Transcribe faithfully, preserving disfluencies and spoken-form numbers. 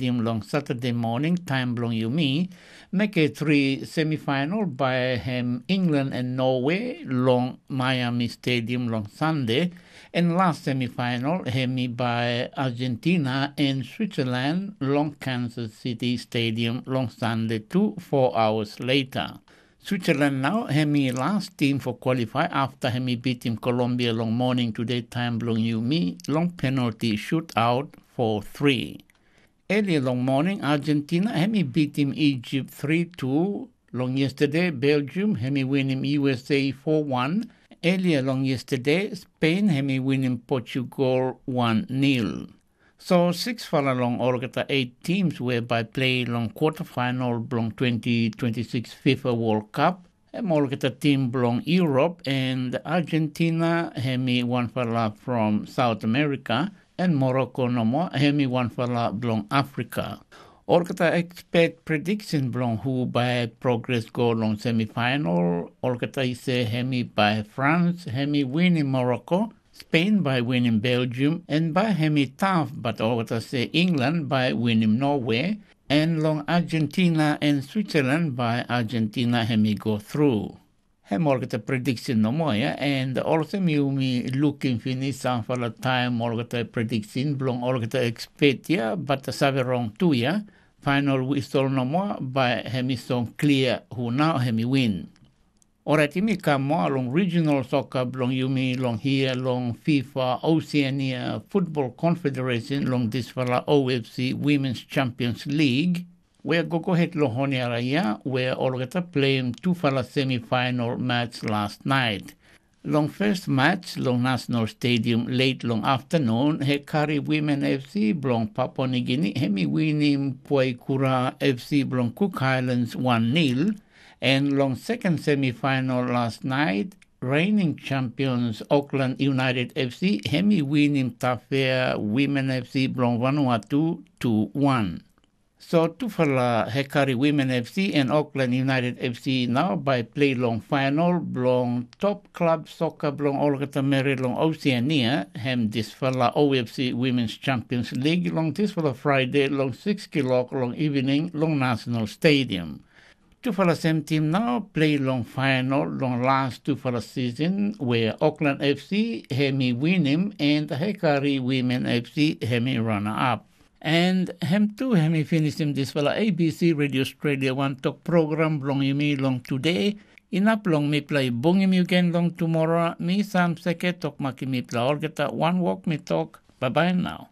Stadium long Saturday morning, taim bilong yumi, make three semifinal by hem England and Norway long Miami Stadium long Sunday, and last semifinal hemi by Argentina and Switzerland long Kansas City Stadium long Sunday too, four hours later. Switzerland now hemi last team for qualify after hemi beating Colombia long morning today time bilong yumi long penalty shootout for three. Earlier long morning, Argentina hemi beating Egypt three two. Long yesterday, Belgium hemi winning U S A four one. Earlier long yesterday, Spain hemi winning Portugal one nil. So six fala long olgeta eight teams we by play long quarterfinal bilong twenty twenty-six FIFA World Cup, em olgeta tim bilong Europe, and Argentina hemi wanfala from South America, and Morocco nomo hemi wanfala bilong Africa. Olgeta expect prediction bilong hu by progress go long semifinal, olgeta i se hemi by France hemi winning Morocco, Spain by winning Belgium, and by hemi tough, but olgeta se England by winning Norway, and long Argentina and Switzerland by Argentina hemi go through. Hem olgeta prediction nomo ya, and olsem yumi lukim finis samfala taim olgeta prediction bilong olgeta expert ya, but save rong tu ya. Final whistle nomo by hemi song clear hu now hemi win. Orait yumi kam moa long regional soccer bilong yumi long hia long FIFA Oceania Football Confederation long dispela O F C Women's Champions League, wea gogohet long honiara ya wea olgeta pleim tufala semifinal match last night. Long first match long National Stadium late long afternoon, Hekari Women F C bilong Papua New Guinea hemi winim Puaikura F C bilong Cook Islands one nil, and long second semifinal last night, reigning champions Auckland United F C hemi winim Tafea Women F C bilong Vanuatu two one. So tufala Hekari Women F C and Auckland United F C now by play long final bilong top club soccer bilong olgeta meri long Oceania, hem dispela O F C Women's Champions League long dispela Friday long six kilok long evening long National Stadium. Tufala sem tim nau plei long fainol long las tufala sisin, wea Auckland F C hem i winim, en Hekari Wimen F C hem i rana-ap. En hem tu hem i pinisim dispela A B C Radio Australia wantok program bilong yumi long tude. Inap long mipela i bungim yu gen long tumora, mi Sam Seke tok makim mipela olgeta wanwok mi tok, baibai nau.